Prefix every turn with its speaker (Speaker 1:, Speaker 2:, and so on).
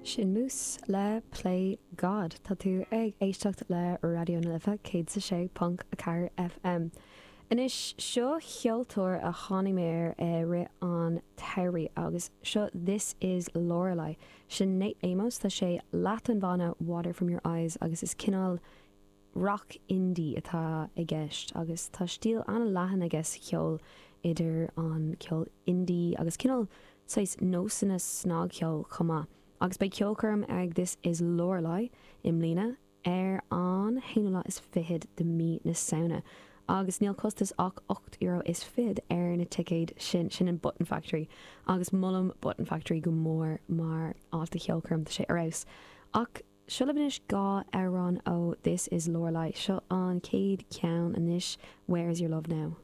Speaker 1: Sin Muse le Play God. Tá tú ag éisteacht le Raidió na Life 106.4 FM. Anois, seo ceoltóir a tháinig mé air i rith an tsamhraidh agus seo This Is Lorelei. Sin Nate Amos, tá sé leath den bhanna Water From Your Eyes agus is cineál Rock indie atá i gceist agus tá stíl an-leathan aige sa cheol idir an ceol indie agus cineál saghas nósanna snagcheoil chomh maith. Agus beidh ceolchoirm ag This Is Lorelei i mbliana ar an haonú lá is fichead de mí na Samhna agus níl costas ach €8 is fichead ar na ticéid sin, sin in Button Factory agus molaim Button Factory go mór mar áit do cheolchoirm, tá sé ar fheabhas. Ach. Seo libh anois 2 amhrán ó This Is Lorelei. Seo an chéad cheann anois, Where Is Your Love Now?